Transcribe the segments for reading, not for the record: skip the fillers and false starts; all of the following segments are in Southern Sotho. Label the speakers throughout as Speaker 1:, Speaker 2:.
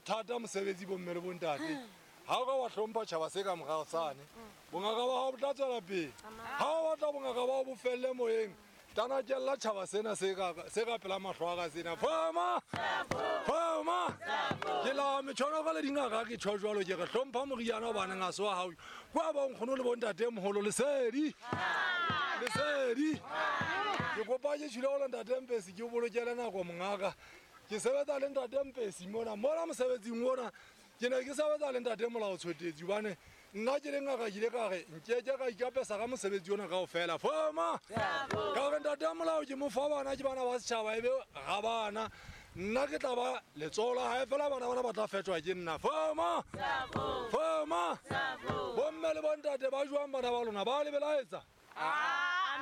Speaker 1: Thata mosebetsi bomme le bontate. Ha o ka wa hlompha tjhaba se ka morao sane, bongaka ba hao bo tla tswela pele. Ha o batla bongaka ba hao bo felle moyeng, tanakella tjhaba sena se ka pela mahlo a ka sena. Fama! Fama! Ke la metjhono ka le dingaka ke tjho jwalo ke re hlompha moriana hobaneng ha se wa hao. Kwa ba nkgono le bontate moholo lesedi. Lesedi. Ke kopa ke tjhile go le ntate Mpesi ke o bolokele nako mongaka. Ke sebetsa le ntate Mpesi mona, mona mosebetsing ona. Ke ne ke sebetsa le ntate Molao Tshwetetsi hobane nna ke le ngaka ke ile ka re nkeke ka ikapesa ka mosebetsi ona kaofela. Foma! Ka re ntate Molao ke mo fa bana ke bana ba setjhaba ebe ga bana. Nna ke tla ba letsoho la hae fela bana bana ba tla fetwa ke nna. Foma! Foma! Bomme le bontate ba jwang bana ba lona ba le belaetsa?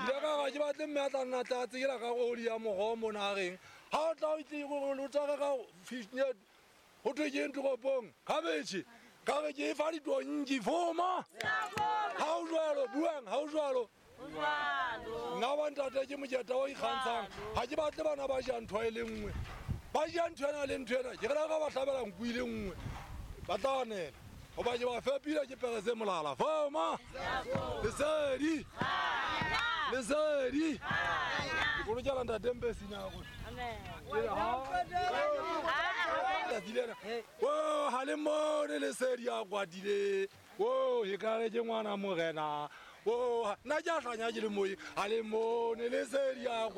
Speaker 1: Ile ka ga ke batle mme a tla nna tla tsekela ka oli ya moroho mona a reng ha o tla o tle o tshware ka fish net ho thwe ke eng toropong khabetšhe ka re ke e fa ditonki foma ha o jwalo buang ha o jwalo nna ba ntate ke moketa o ikgantshang ga ke batle bana ba ja ntho e le nngwe ba ja ntho ena le ntho ena ke re ka ba hlabela nku e le nngwe ba tla anela goba ke ba fepile ke pere se molala foma lesedi lesedi ke bolokela ntate mpe sinako tsatsi lena o ga le mone lesedi a kwadile o e kare ke ngwana morena o nna ke a hlanya ke le moyeng ga le mone lesedi a.